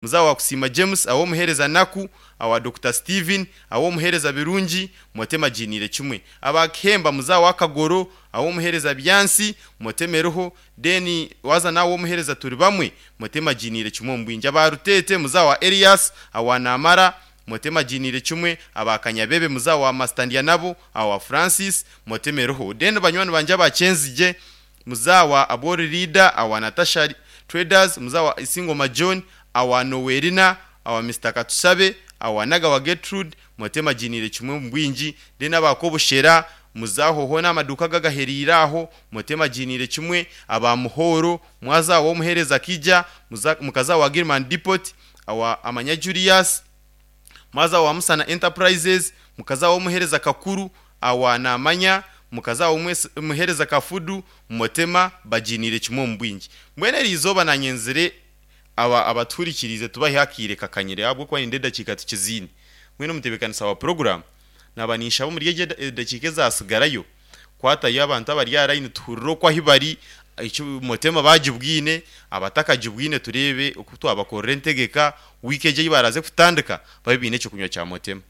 Muzawo wa Kusiima James, aw'omuheereza Naku, awa Dokita Steven, aw'omuheereza Birungi, Motema Giniire kimwe. Aba Kihemba muzawo wa Kagoro, aw'omuheereza Byansi, Motema eriho, then waza n'aw'omuheereza Turibamwe, Motema Giniire kimwe omu bwingi. Aba Ruteete muzawo wa Elias, awa Namara, Motema Giniire kimwe. Aba Kanyabebe muzawo wa Master Ndyanabo, awa Francis, Motema eriho. Then banywani bangye aba Kyenzigye, Muzawa Abori Leader, awa Natasha Traders, Muzawa Isingoma John, awa Nowerina, awa Mister Katushabe, awa Nagawa Gertrude, Motema Giniire kimwe omu bwingi, then aba Kobushera, Muzaho hoona amaduuka agagaheriire aho, Motema Giniire kimwe, aba Muhoro, Mwaza awa Omuheereza Kija, Mukaza awa Gilman Depot, awa Amanya Julius, Mwaza wa Musana Enterprises, mukaza w'omuheereza Kakuru, awa Namanya, mukaza w'omuheereza Kafudu, Motema, bagiiniire kimwe omu bwingi. Mbwenu eri izooba naanyenzire aba abatuhurikiriize tubahe akaire kakanyire ahabw'okuba nindeeba edakiika tukiziine. Mbwenu omutebeekanisa wa puroguraamu naaba ninshaba omuri egi edakiika ezaatsigarayo kwatayo abantu abari aha layini tuhurire oku ahu bari, eki Motema baagibwine, abatakagibwine tureebe oku twabakorera entegeka, wiiki egi ei baraaze kutandika babe baine eky'okunywa kya Motema.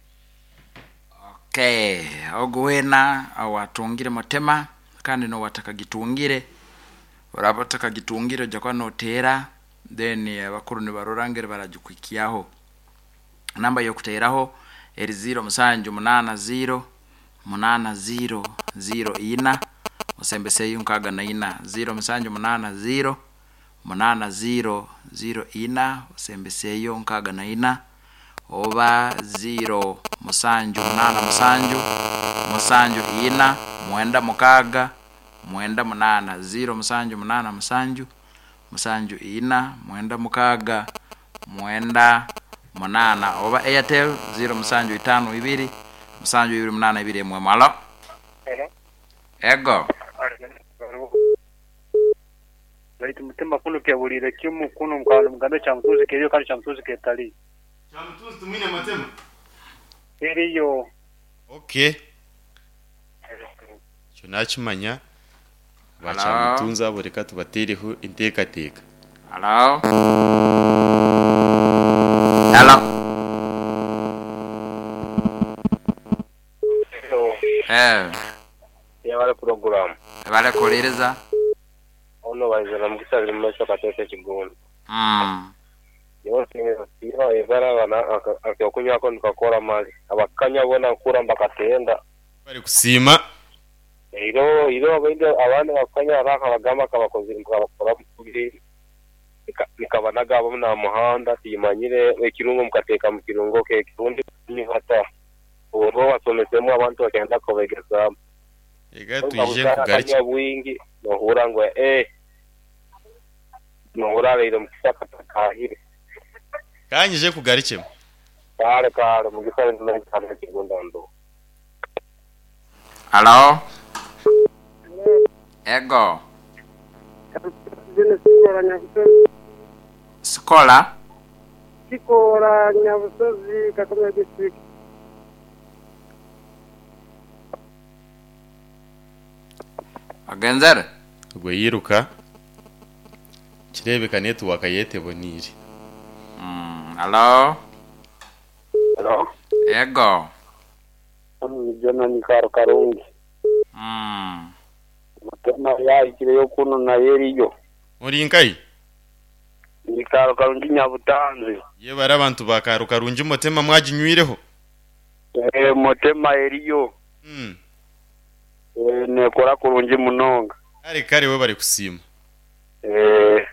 Okay, ogu weena owatungire Motema kandi n'owatakagitungire, oraba otakagitungire oija kuba noteera then abakuru nibarora ngeri baragikuhikyaho. Namba y'okuteeraho eri ziiro musanju munaana ziiro munaana ziiro ziiro ina osembeseyo nkaaga na ina. Ziiro musanju munaana ziiro munaana ziiro ziiro ina osembeseyo nkaaga na ina oba ziiro musanju munaana musanju musanju ina mwenda mukaaga mwenda munaana. Ziiro musanju munaana musanju musanju ina mwenda mukaaga mwenda munaana oba Airtel ziiro musanju itaanu ibiri musanju ibiri munaana ibiri emwe. Halo. Ego. Baitu mutima kunu kebuliire kimu kunu mukaba nimugambe Kyamutunzi keriyo kandi Kyamutunzi ketaliyo. Kyamutunzi tumwine Matema? Teriyo. Okay. Ekyo nakimanya. Ba Kyamutunzi abo reka tubateereho enteekateeka. Halo. Halo. Hello. Eh. Yebale puroguramu. Yebale kuwuliriza. Ono Baizana Mukisa ali mumaisho Kateete Kigundu. Mm. Nyowe nsiima ebara bana akokunywako nikakora mali. Abakukanywa bona nkuhurra nibakatenda. Webale kusiima. Iro iro abaingi abandi abakukanywa hariho akabagamba kabakozire ngu kabakora kubi nikabanaga abamu aha muhanda timanyire ekirungo mukateeka mu kirungo ke kirundi hata obwo obasomesemu abantu bakyenda kubegezamu. Reka twije nkugarukye. Akanywa bwingi nohurra ngu eeh nohurra abaire omu kishaka atahire. Ka nyije nkugarukyemu. Kare kare Mugisa ndi Kigunda ndo. Halo. Ego. Sikola. Kikoora Nyabusozi, Kakamega District. Ogenzere? Ogwo yairuka, kireebeka netiwaaka ye teboneire. Halo. Halo. Ego. Jonah Nyikaro Karungi. Mutema yahikireyo kunu nayo eriyo. Ori nkahi? Nyikaro Karungi Nyabutanzi. Yebare abantu ba Kaaro Karungi Mutema mwaginywireho? Eeh Mutema eriyo. Eeh nekora kurungi munonga. Kare kare webare kusiima. Eeh.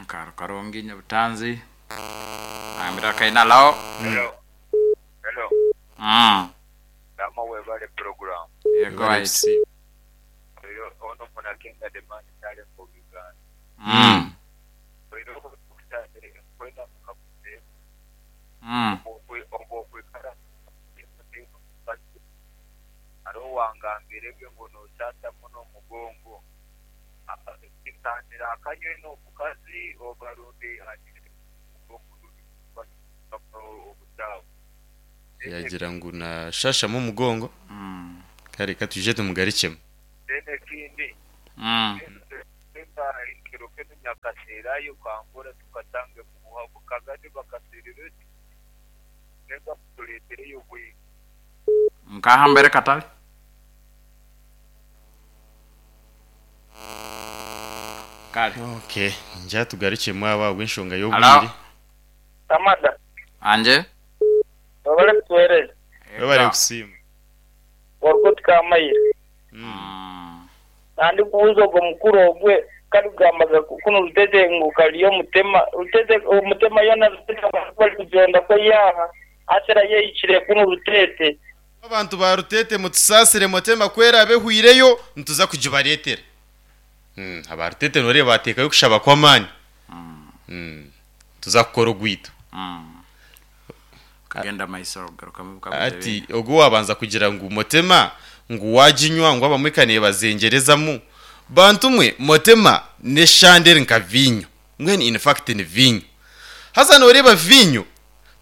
Kaaro Karungi Nyabutanzi agambire akaina alagho. Hello. Hello. Lama webale program. Yego waitu. Oyo ono muna Kenga the man talent of Uganda. Oyo kwenda mukaguze. Obwo okwikara hariho owangambire bwe ngu noshasha muno omugongo. Kitandira akanywe n'omukazi oba rundi obukyafu. Yagira ngu nashashamu omugongo. Kare ka twije tumugarukyemu. Then ekindi, Hata ekiro kinu nyakaseerayo kangora tukatange mubuha bukagade bakaseerera oti nenga mutuleetereyo bwingi. Nkaha mbere katale. Kale. Okay, nja tugarukyemu abo ahabw'enshonga Halo. y'obwire. Kamada. Anje. Webale kutuhereza. Webale Eka. kusiima. Orikoti Kamayire. Nandikubuuza ogwo mukuru ogwe karikugambaga kunu Rutete ngu kariyo omutema Rutete omutema yoona Rutete abantu barikugyenda kweyaha asera yehikire kunu Rutete. Abantu ba Rutete mutusaasire motema ku eraabe ehweireyo nituza kugibareetera. Aba Rutete nooreeba baateekayo okushaba kw'amaani. Nituza kukora ogwaitu. Kagenda maiso garukamu ebikaguzo Hati ebindi. ogwo waabanza kugira ngu motema ngu waaginywa ngu abamwe ka neebazengerezamu. Bantu mwe motema n'eshande eri nka viinyo. Mbwenu in fact ni viinyo. Haza nooreeba viinyo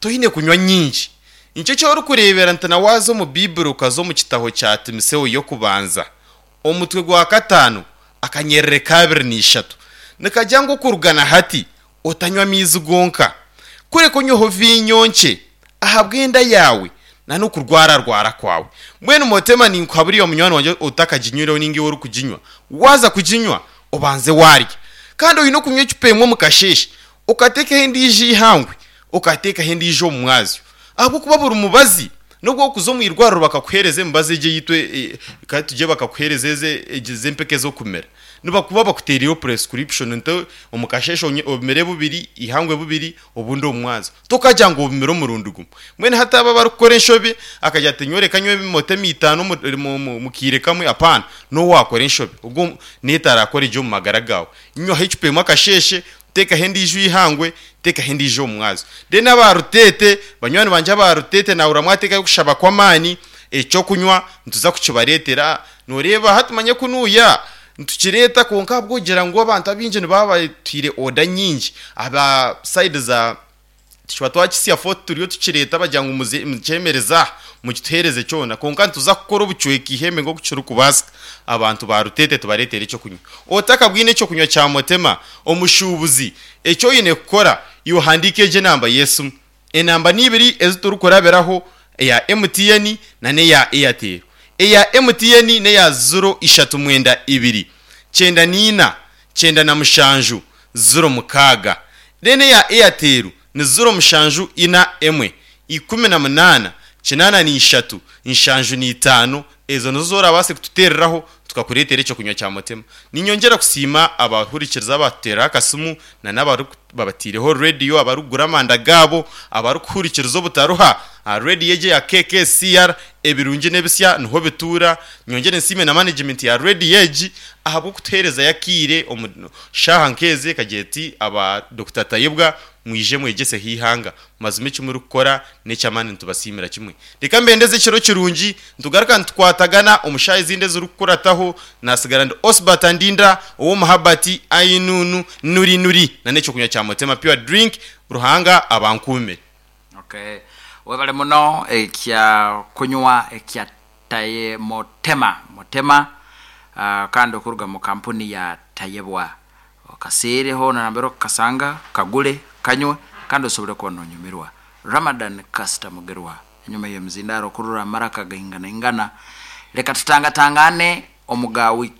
toine kunywa nyingi. Nikyo eki orikureebera nti na waaza omu Baiburi okaza omu kitaho kya Timiseo y'okubanza omutwe gwa kataano akanyerere ka abiri na ishatu nikagira ngu okuruga na hati Otanywa amaizi gonka, kureka onyweho viinyo nkye ahabw'enda yaawe na n'okurwararwara kwawe. Mbwenu Motema ninkuhabura iwe munywani wangye otakaginywireho ninga iwe orikuginywa, waaza kuginywa obanze waarya. Kandi oine okunywa ecupa emwe omu kasheeshe, okateekaho endiijo eihangwe, okateekaho endiijo omu mwazyo. Ahabw'okuba buri mubazi n'obu orikuza omu irwariro bakakuheereza emibazi egi eyaitu ka tugire bakakuheereza ezi ez'empeke ez'okumira, nibakuba bakuteereireho prescription nti omu kasheeshe obimire bubiri, eihangwe bubiri, obundi omu mwazyo. Tokagira ngu obimire omurundi gumwe. Mbwenu hati abo abarikukora enshobi akagira ati nyowe reka nywe emotema itaano omu kaire kamwe, apaana, n'obu waakora enshobi, ogwo neetarakora gye omu magara gaawe. Nywaho ecupa emwe akasheeshe, teekaho endiijo eihangwe, teekaho endiijo omu mwazyo. Then aba Ruteete, banywani bangye aba Ruteete naahurira mwateekayo okushaba kw'amaani, eky'okunywa nituza kukibareetera. Nooreeba hati manya kunuuya nitukireeta kwonka ahabw'okugira ngu abantu abaingi nibaba batuhaire oda nyingi aba sayidi za Tukiba twakitsya Fort turiyo tukireeta bagira ngu muze mukyemereze aha mukituheereze kyona kwonka nituza kukora obucweka eihembe nk'oku kirikubaasika abantu ba Ruteete tubareetere ekyokunywa. Otakabwine ekyokunywa kya Motema omushuubuzi eki oine kukora iwe handiika egi enamba y'esimu. Enamba n'ibiri ezi turikurabiraho eya MTN na n'eya Airtel. Eya MTN n'eya ziro ishatu mwenda ibiri kyenda n'ina 97 06. Reero eya Airtel ni 07 41 18 83 75. Ezo nizo z'orabaase kututeereraho tukakureetera ekyokunywa kya Motema. Niinyongyera kusiima abahurikiriza abaatuteerera akasimu na n'ababataireho rediyo, abarikugura amanda gaabo, abarikuhurikiriza obutaruha aha rediyo egi eya KKCR. Ebirungi n'ebisya niho bituura. Nyongyere nsiime na manegimenti ya rediyo egi ahabw'okutuheerezayo akaire omu shaaha nk'ezi ekagira eti, Aba Dokita Tayebwa mwije mwegyeseho eihanga. Mazima eki murikukora n'eky'amaani nitubasiimira kimwe. Reka mbendeze ekiro kirungi, nitugaruka nitukwatagana omu shaaha ezindi ezirikukurataho. Nasigara ndi Osbert Ndinda ow'omuhabati Ainunu Nuri Nuri na n'ekyokunywa kya Motema Pure Drink. Ruhanga abankuumire. Okay. Webale muno ekya kunywa ekya Taye Motema Motema kandi okuruga mu kampuni ya Tayebwa. Okaseere hoona nambere okukasanga, kagure, kanywe kandi osobole kuba nonyumirwa. Ramadan Kasita Mugerwa enyuma y'emizindaaro okurora amaraka gainganaingana. Leka tutangatangaane omu ga wiiki.